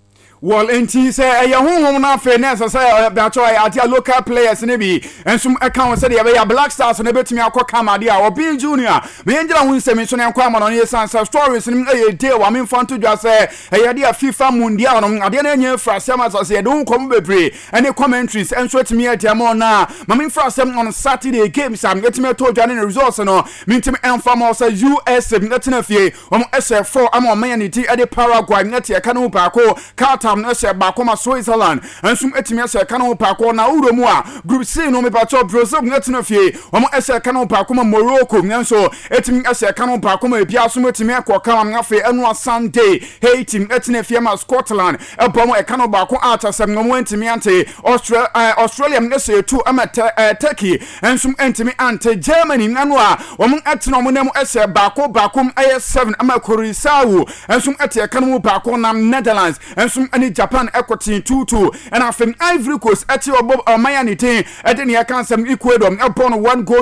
Well, enti sɛ ɛyɛ honhom no afei na ɛsɛ sɛ ɛbɛkyɛ ɛyɛ adeɛ a local players no bi nso ɛka ho sɛdeɛ ɛbɛyɛ Black Stars no bɛtumi akɔ kama adeɛ a Obeng Junior ma yɛngyina ho nsɛm nso na yɛnkɔ ama no no yɛsiane sɛ stories no ɛyɛ day wa memfa nto dwa sɛ ɛyɛ adeɛ a FIFA Mundial no adeɛ no ɛnyɛ afiri asɛm asɛ sɛ yɛde ho nkɔmmɔ bebree ɛne commentaries nso atumi adi ama ɔno a ma memfiri asɛm on Saturday games a ɛtumi ɛtɔ dwa ne ne results no mentumi ɛmfa ma sɛ USA ɛtena fie Wɔn hyɛ fɔɔ ama ɔman a ne din de Paraguay no te ɛka no mu baako. Qatar no hyɛ baako ma Switzerland nso atumi ahyɛ ɛka no mu baako. Na wowura mu a, Group C no mepakyɛw Brazil no tena fie. Wɔn hyɛ ɛka no mu baako ma Morocco nso atumi ahyɛ ɛka no mu baako ma ebiara nso atumi akɔ kama. Afei ɛnoa Sunday, Haiti tena fie ma Scotland bɔ wɔn ɛka no baako a kyerɛ sɛ wɔn antumi ante. Australia hyɛ tu ma Turkey nso antumi ante. Germany ano a Wɔtena wɔn nan mu hyɛ baako baako mu yɛ 7 ama Curaçao nso te ɛka no mu baako na Netherlands nso ne Japan kɔtee 2-2 ɛna afei Ivory Coast te ɔbɔ ɔman a ne din de nea ɛka nsɛm Ecuador bɔ no 1 goal.